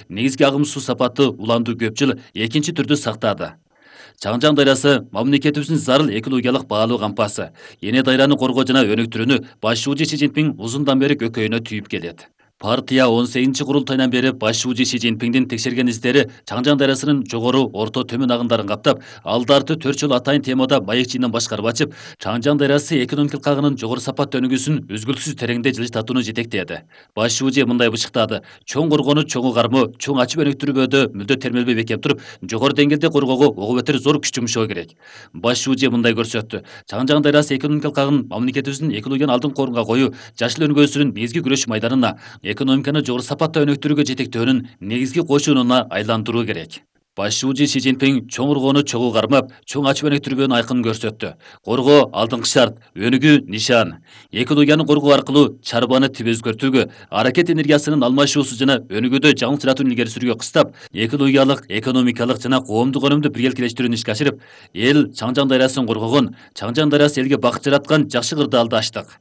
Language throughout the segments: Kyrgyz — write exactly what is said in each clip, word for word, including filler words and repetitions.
негизги агым суу сапаты уланды көп жыл экинчи түрдү сактады. Чаңжаң дайрасы мамлекетибиздин зарыл экологиялык баалуу кампасы. Эне дайраны коргоо жана өнүктүрүүнү баш шууучу Си Цзиньпин узундан бери көкөйүнө түйүп келет. Партия он сегизинчи курултайынан бери баш шууучу Си Цзиньпиндин текшерген издери Чаңжаң дайрасынын жогору, орто, төмөн агымдарын каптап, алды арты төрт жолу атайын темада маекчинен башкарып ачып, Чаңжаң дайрасы экономикалык агынын жогору сапат өнүгүүсүн үзгүлтүксүз тереңде жылыштатууну жетектеди. Баш шуучу мындай бышыктады: чоң коргоону чоңу кармоо, чоң ачып өнүктүрүүбөдө мүлдө термелбей бекем туруп, жогору деңгээлде коргоого ого бетер зор күч жумшоо керек. Баш шуучу мындай көрсөттү: Чаңжаң дайрасы экономикалык агын мамлекетибиздин экологияны алдыңкы орунга коюу, жашыл өнүгүүсүнүн негизги күрөш майданына, экономиканы жогору сапатта өнүктүрүүгө жетектөөнүн негизги кошунуна айландыруу керек. Баш шуучу Си Цзиньпин чоң коргоону чогуу кармап, чоң ачып өнүктүрүүнүн айкынын көрсөттү. Коргоо алдыңкы шарт, өнүгүү нишан. Экологияны коргоо аркылуу чарбаны тип өзгөртүүгө, аракет энергиясынын алмашуусу жана өнүгүүдө жаңылчыратууну илгери сүрүүгө кыстап, экологиялык, экономикалык жана коомдук өнүмдү биргеликелештирүүнү ишке ашырып, эл Чаңжаң дайрасын коргогон, Чаңжаң дайрасы элге бакыт жараткан жакшы кырдаалды ачтык.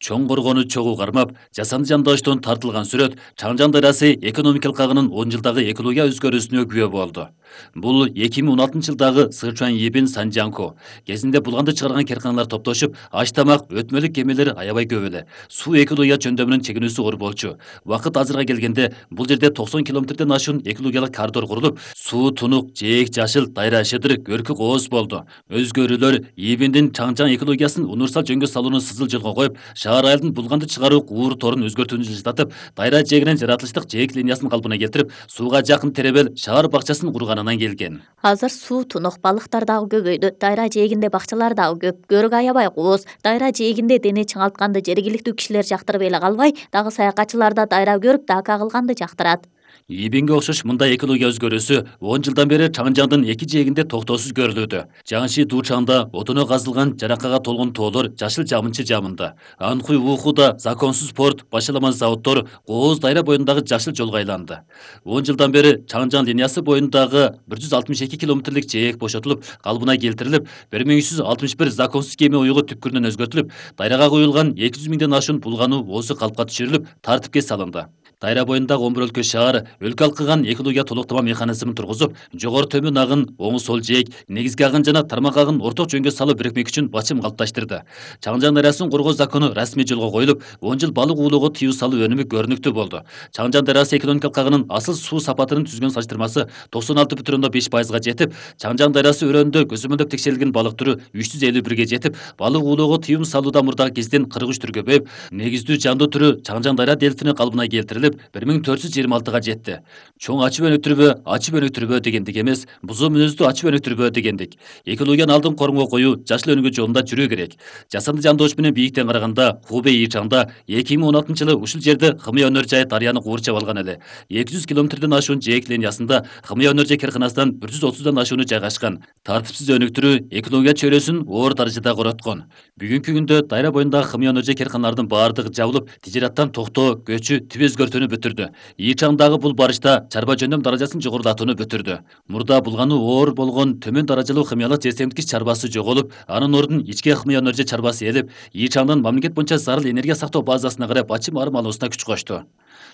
Чоң коргоону чогуу кармап, жасанды жандооштон тартылган сүрөт Чаңжаң дайрасы экономикалык агынын он жылдагы экология өзгөрүүсүнө күбө болду. Бул эки миң он алтынчы жылдагы Сычуань Ебин Санжанко кезинде булганды чыгарган керканалар топтошуп, аш тамак, өтмөлүк кемелер аябай көп эле. Суу экология жөндөмүнүн чегинүүсү оор болчу. Убакыт азырга келгенде бул жерде токсон километрден ашуун экологиялык коридор курулуп, суу тунук, жээк жашыл, дайра шыдыр, көркү кооз болду. Өзгөрүүлөр Ебиндин Чаңжаң экологиясын универсал жөнгө салууну сызыл жолго коюп, шаар айылдын булганды чыгаруу уур торун өзгөртүүнү жылжытып, дайра жээгинен жаратылыштык жээк линиясын калпына келтирип, сууга жакын теребел шаар бакчасын курганынан келген. Азыр суу тунук, балыктар дагы көбөйдү. Дайра жээгинде бакчалар дагы көп. Көрүк аябай кооз. Дайра жээгинде дене чыңалтканды жергиликтүү кишилер жактырып эле калбай, дагы саякатчылар да дайра көрүп, дака кылганды жактырат. Ибинге окшош мындай экология өзгөрүүсү он жылдан бери Чаңжаңдын эки жээгинде токтоосуз көрүлүүдө. Жаңши Дуучаңда отуну казылган жаракага толгон тоолор жашыл жамынчы жамында. Анхуй Ухуда законсуз порт, башаламан заводдор, кооз дайра боюндагы жашыл жолго айланды. он жылдан бери Чаңжаң линиясы боюндагы бир жүз алтымыш эки километрлик жээк бошотулуп, калыбына келтирилип, бир миң үч жүз алтымыш бир законсуз кеме уюгу түпкүрүнөн өзгөртүлүп, дайрага куюлган эки жүз миңден ашуун булгануу оозу калпка түшүрүлүп, тартипке салынды. Дайра боюндагы он бир өлкө шаар өлкө алкыган экология толуктама механизмин тургузуп, жогору төмөн агын, оң сол жээк, негизги агын жана тармак агын орток жөнгө салуу бирикмек үчүн бачым калыпташтырды. Чаңжаң дайрасын коргоо закону расмий жолго коюлуп, он жыл балык уулоого тыюу салуу өнүмү көрүнүктүү болду. Чаңжаң дайрасы экономикалык агынын асыл суу сапатынын түзгөн салыштырмасы токсон алты бүтүн ондон беш пайызга жетип, Чаңжаң дайрасы өрөөнүндө көзөмөлдөп текшерилген балык түрү үч жүз элүү бирге жетип, балык уулоого тыюм салууда мурдагы кезден кырк үч түр көбөйүп, негиздүү жандуу түрү Чаңжаң дайра дельфини калыбына келтирилип, бир миң төрт жүз жыйырма алтыга жетти. Чоң ачып өнүктүрбө, ачып өнүктүрбө дегендик эмес, бузуу мүнөздүү ачып өнүктүрбө дегендик. Экологияны алдын коргоо коюу, жашыл өнүгүү жолунда жүрүү керек. Жасанды жандоош менен бийиктен караганда Хубэй Ичаңда эки миң он алтынчы жылы ушул жерде Хымыя өнөр жайы дарыяны куурчап алган эле. эки жүз километрден ашуун жээк линиясында Хымыя өнөр жай керканасынан бир жүз отуздан ашууну жайгашкан. Тартипсиз өнүктүрүү экология чөйрөсүн оор даражада короткон. Бүгүнкү күндө дайра боюндагы Хымыя өнөр жай керканалардын баардыгы жабылып, тижераттан токтоо, көчү, тип өзгөртүүнү бүтүрдү. Ичаңдагы бул барышта чарба жөндөм даражасын жогорулатууну бүтүрдү. Мурда булганы оор болгон төмөн даражалуу хымиялык жер семирткич чарбасы жоголуп, анын ордун ичке Хымыя өнөр жай чарбасы ээлеп, Ичаңдын мамлекет боюнча зарыл энергия сактоо базасына карай бачым арым алуусуна күч кошту.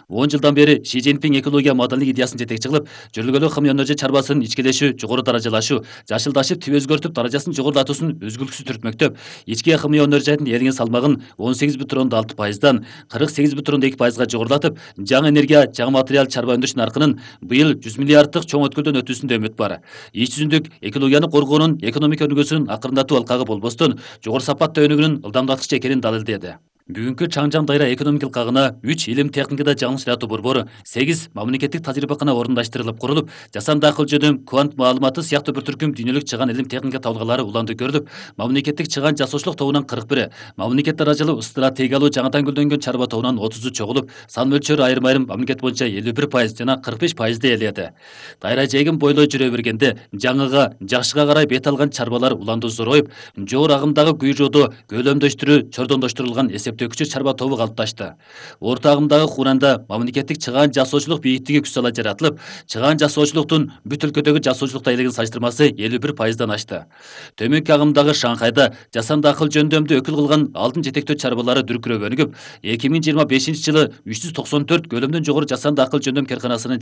он жылдан бери Си Цзиньпин экология модалдык идеясын жетекчи кылып, жөргөлүү Хымыя өнөр жай чарбасынын ичкелешүү, жогору даражалашуу, жашылдашып, тип өзгөртүп, даражасын жогорулатуусун үзгүлтүксүз түртмөктөп, ичке Хымыя өнөр жайдын элген салмагын он сегиз бүтүн ондон алты пайыздан кырк сегиз бүтүн ондон эки пайызга жогорулатып, жаңы энергия, жаңы материал чарба өндүрүш наркынын быйыл жүз миллиарддык чоң өткөлдөн өтүүсүндө үмүт бар. Ич жүзүндүк экологияны коргоонун экономика өнүгүүсүнүн акырындатуу алкагы болбостон, жогору сапатта өнүгүүнүн ылдамдаткычы экенин далилдеди. Бүгүнкү Чаңжаң дайра экономикалык агына үч илим техникада жаңылыштыратуу борбору, сегиз мамлекеттик тажрыйбакана орундаштырылып курулуп, жасанды акыл жөнөм, квант маалыматы сыяктуу бир түркүм дүйнөлүк чыгаан илим техника табылгалары уланды көрүлүп, мамлекеттик чыгаан жасоочулук тобунан кырк бири, мамлекет даражалуу стратегиялуу жаңыдан гүлдөнгөн чарба тобунан отузу чогулуп, сан мөлчөрү айрым-айрым мамлекет боюнча элүү бир пайыз жана кырк беш пайызды ээледи. Дайра жээгин бойлой жүрө бергенде, жаңыга, жакшыга карай бет алган чарбалар уланды зоройуп, жогору агымдагы күйрөөдө көлөмдөштүрүү, чордондоштурулган эсеп төкчү чарба тобу калыпташты. Орто агымдагы Хуранда мамлекеттик чыгаан жасоочулук бийиктиги күч сала жаратылып, чыгаан жасоочулуктун бүт өлкөдөгү жасоочулук айлыгын салыштырмасы элүү бир пайыздан ашты. Төмөнкү агымдагы Шанхайда жасанды акыл жөндөмдү өкүл кылган алдын жетектөө чарбалары дүркүрөп өнүгүп, эки миң жыйырма бешинчи жылы үч жүз токсон төрт көлөмдөн жогору жасанды акыл жөндөм карканасынын